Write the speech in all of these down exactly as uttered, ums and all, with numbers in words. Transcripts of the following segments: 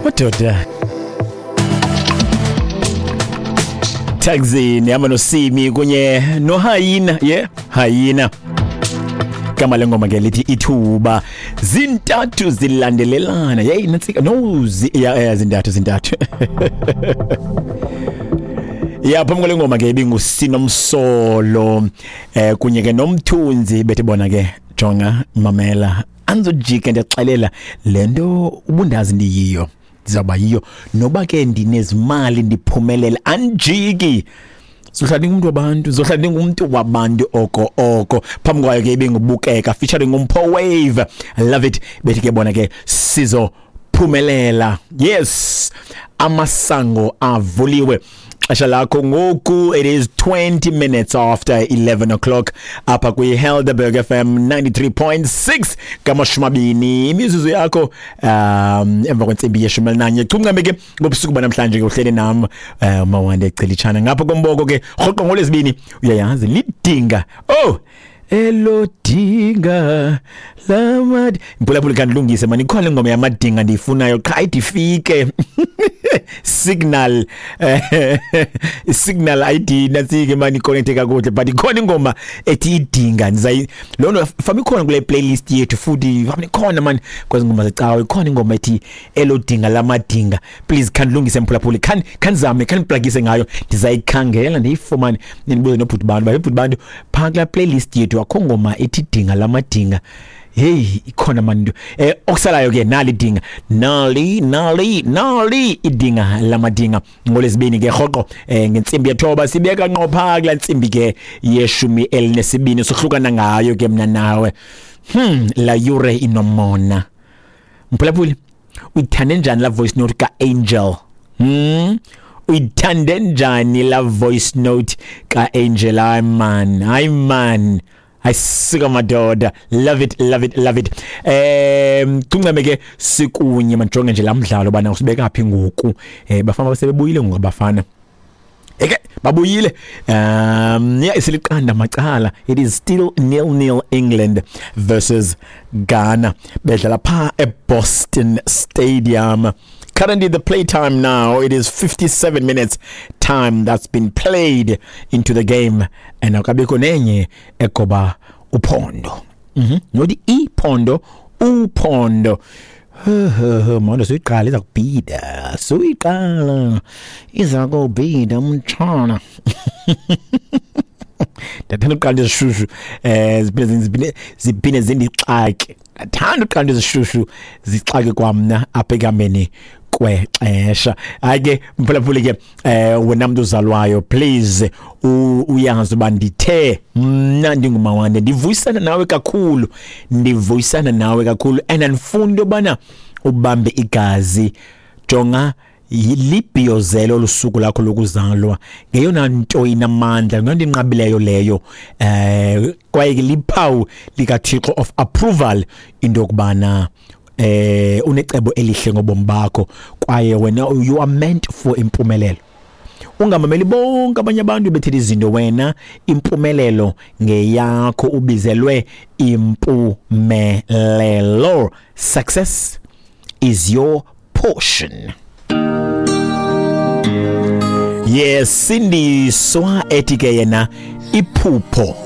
Madoda. Taxi nihamba noSimi kunye noHayina, yeah, Hayina. Igama lengoma ke lithi ithuba. Zintathu zilandelelana. Hey, nantsika no zi, yeah, yeah, zintathu zintathu. Ya, phambi kwale ngoma ke ibinguSinomsolo eh kunye ke noMthunzi bethi bona ke jonga mamela anzojika ndiyaxelela lento ubundazi ndiyiyo ndizawuba yiyo noba ke ndinezimali ndiphumelele anjiki zohlala ndingumntu wabantu zohlala ndingumntu wabantu oko oko. Phambi kwayo ke ibingubukeka featuring uMpho Wave, I love it, bethi ke bona ke sizophumelela. Yes, amasango avuliwe. Xesha lakho ngoku, it is twenty minutes after eleven o'clock apha kwi-Helderberg F M ninety-three point six ngamashumi amabini imizuzu yakho um emva kwentsimbi yeshumi elinanye. Chuncame ke ngobusuku banamhlanje ke uhleli nam uh, Mawande Celitshana ngapha komboko ke rhoqo ngolwezibini uyayazi lidinga oh elodinga lamad mphulaphula kandilungise mani ikhona ingoma yamadinga ndiyifunayo qha ayidifike signal signal I D nasike mani connect kakuhle but ikhona ingoma ethi idinga ndizayi lona fami ikhona kule playlist yethu futhi fami ikhona mani kwezi ngoma zecawe ikhona ingoma ethi elodinga lamadinga. Please khandilungise mphulaphuli khan khanizame khandiplagise ngayo ndizayikhangela ndiyifumane nibuze nobhuti bantu bhuti bantu phaa kula playlist yethu akho ngoma ethi dinga lamadinga. Hey, ikhona mani eh okusalayo ke nali dinga nali nali nali idinga lamadinga ngolesibini ke rhoqo eh ngentsimbi yethoba sibeka ngqo pha kula ntsimbi ke yeshumi elinesibini sohlukana ngayo ke mina nawe. Hmm la yure inomona mphulaphuli uyithande njani la voice note ka Angel? Hmm uyithande njani la voice note ka Angel? Ay man, ay man, ayisika madoda, love it, love it, love it. Em tuncame ke sikunye manjonge nje lamdlalo bana usibeka phi ngoku eh bafana basebebuyile ngoku abafana eke babuyile um yeah isiliqanda macala. It is still nil nil England versus Ghana bedlala pha eBoston Stadium. Currently the playtime now, it is fifty-seven minutes time that's been played into the game and akabikho nenye egoba uphondo. Mhm. Not iphondo, uphondo. Manje soyiqala iza kubhida. Soyiqala iza kubhida umtshana. Ndathanda uqala izishushu eh ziphinde ziphinde ziphinde zindixake. Ndathanda uqala izishushu zixake kwamna apha ekameni kwexesha. Hayi ke mphulaphuli ke eh wena mntu uzalwayo please uyazi uba ndithe mna ndinguMawande ndivuyisana nawe kakhulu ndivuyisana nawe kakhulu and andifuni into yobana ubambe igazi. Jonga libhiyozelo lusuku lakho lokuzalwa ngeyona nto inamandla ngeyona inqabileyo leyo eh kwaye ke liphawu likaThixo of approval into yokubana eh unecebo elihle ngobomi bakho kwaye wena you are meant for impumelelo. Ungamameli bonke abanye abantu bethethe izinto, wena impumelelo ngeyakho, ubizelwe impumelelo. Success is your portion. Yes, Sindiswa ethi ke yena iphupho.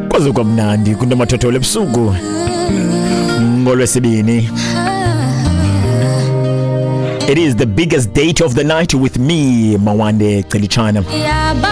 Kwaze kwamnandi kunomathotholo ebusuku ngolwesibini. It is the biggest date of the night with me, Mawande Celitshana.